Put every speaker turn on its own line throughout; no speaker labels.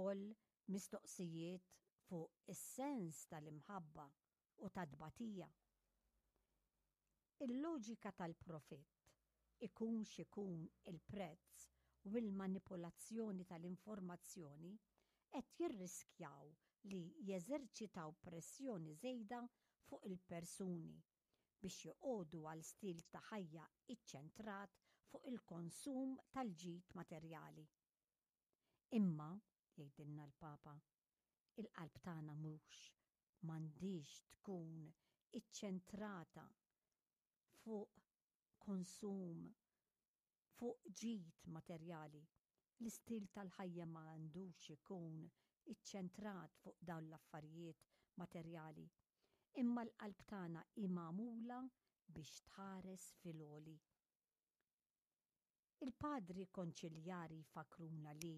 ukoll mistoqsijiet fuq is-sens tal-imħabba u tat-tbatija. Il-loġika tal-profitt, ikun x'ikun il-prezz u l-manipulazzjoni tal-informazzjoni qed jirriskjaw li jeżerċitaw pressjoni żejda fuq il-persuni biex joqogħdu għal stil ta' ħajja iċċentrat fuq il-konsum tal-ġid materjali. Imma, jgħidilna l-Papa, il-qalb tagħna mhux m'għandhiex tkun iċċentrata fuq konsum, fuq ġid materjali. L-istil tal-ħajja ma għandux ikun iċċentrat fuq dawn l-affarijiet materjali. Imma l-qalb tagħna hi magħmula biex tħares fil-għoli. Il-Padri Konċiljari jfakkruna li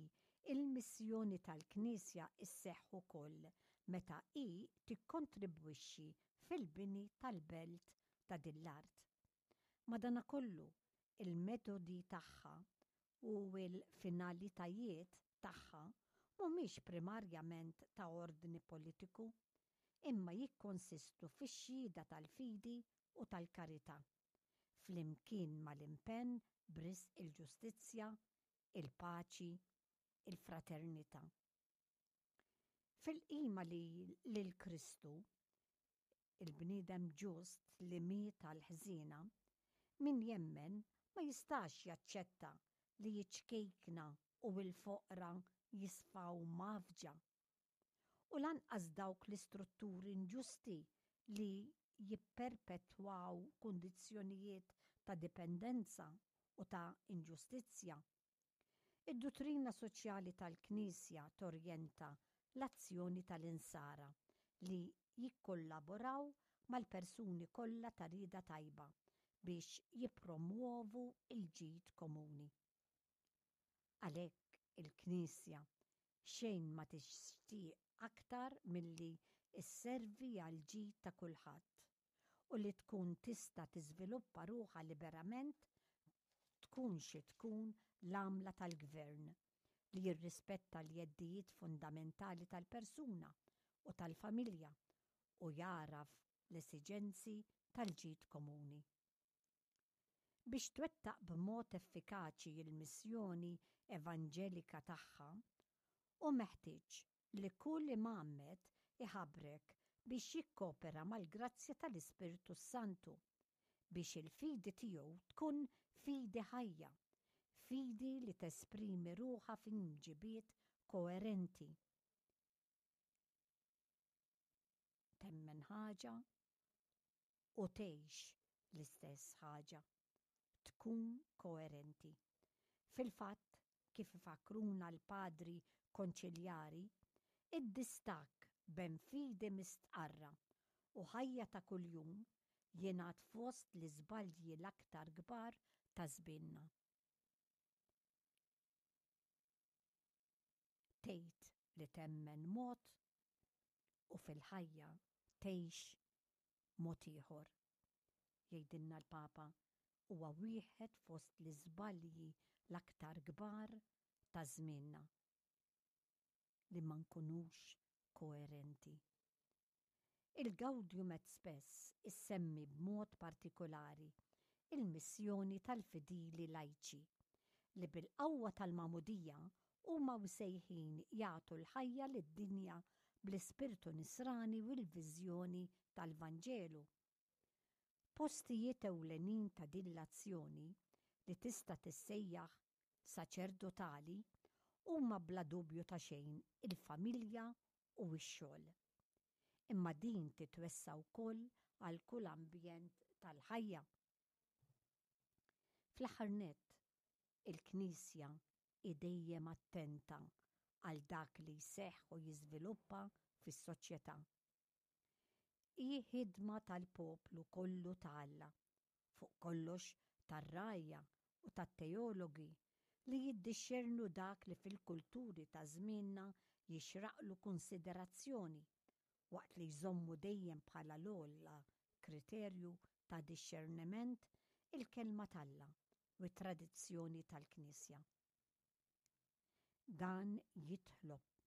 l-missjoni tal-Knisja sseħħ ukoll meta hi tikkontribwixxi fil-bini tal-belt ta' din l-art. Madanakollu, il-metodi tagħha u l-finalitajiet tagħha mhumiex primarjament ta' ordni politiku, imma jikkonsistu fix-xhieda tal-fidi u tal-karità. flimkien mal-impenn b'risq il-ġustizzja, il-paċi, il-fraternità. Fil-qima li lil Kristu, il-bniedem ġust li miet għall-ħżiena, min jemmen ma jistax jaċċetta li ċ-ċkejkna u l-foqra jisfaw mgħaffġa u lanqas dawk l-istrutturi inġusti li jipperpetwaw kundizzjonijiet ta' dipendenza u ta' inġustizzja. Id-duttrina soċjali tal-Knisja torjenta l-azzjoni tal-Insara li jikkollaboraw mal-persuni kollha ta' rieda tajba biex jippromwovu l-ġid komuni. Għalhekk il-Knisja xejn ma tixtieq aktar milli sservi għall-ġid ta' kulħadd u li tkun tista' tiżviluppa ruħha liberament tkun xi tkun l-għamla tal-gvern li jirrispetta l-jeddijiet fundamentali tal-persuna u tal-familja u jagħraf l-esiġenzi tal-ġid komuni. Biex twettaq b'mod effikaċi l-missjoni evanġelika tagħha, hu meħtieġ li kull imgħammed iħabrek biex jikkopera mal-grazzja tal-Ispirtu s-Santu, biex il-fidi tiegħu tkun fidi ħajja, fidi li tesprimi ruħha f'imġibiet koerenti. Temmen ħaġa u tgħix l-istess ħaġa. Tkun koerenti. Fil-fatt, kif ifakkruna l-Padri Konċiljari, id-distakk bejn fidi mistqarra u ħajja ta' kuljum jingħad fost l-iżbalji l-aktar kbar ta' żmienna. Tgħid li temmen mod u fil-ħajja tgħix mod ieħor. Jgħidilna l-Papa, huwa wieħed fost l-iżbalji l-aktar kbar ta' żmienna li ma nkunux koerenti. Il-Gaudium et Spes issemmi b'mod partikulari l-missjoni tal-fidili lajċi, li bil-qawwa tal-Magħmudija huma msejħin jagħtu l-ħajja lid-dinja bl-ispirtu Nisrani u l-viżjoni tal-Vanġelu. Postijiet ewlenin ta' din l-azzjoni, li tista' tissejjaħ saċerdotali, huma bla dubju ta' xejn il-familja u x-xogħol. Imma din titwessa' wkoll għal kull ambjent tal-ħajja. Fl-aħħar nett, il-Knisja hi dejjem attenta għal dak li jseħħ u jiżviluppa fis-soċjetà. Hi ħidma tal-poplu kollu ta' Alla, fuq kollox tar-rgħajja u tat-teologi li jiddixxernu dak li fil-kulturi ta' żmienna jixraqlu kunsiderazzjoni, waqt li jżommu dejjem bħala l-ogħla kriterju ta' dixxerniment il-Kelma t'Alla u t-tradizzjoni tal-Knisja. Dan jitlob.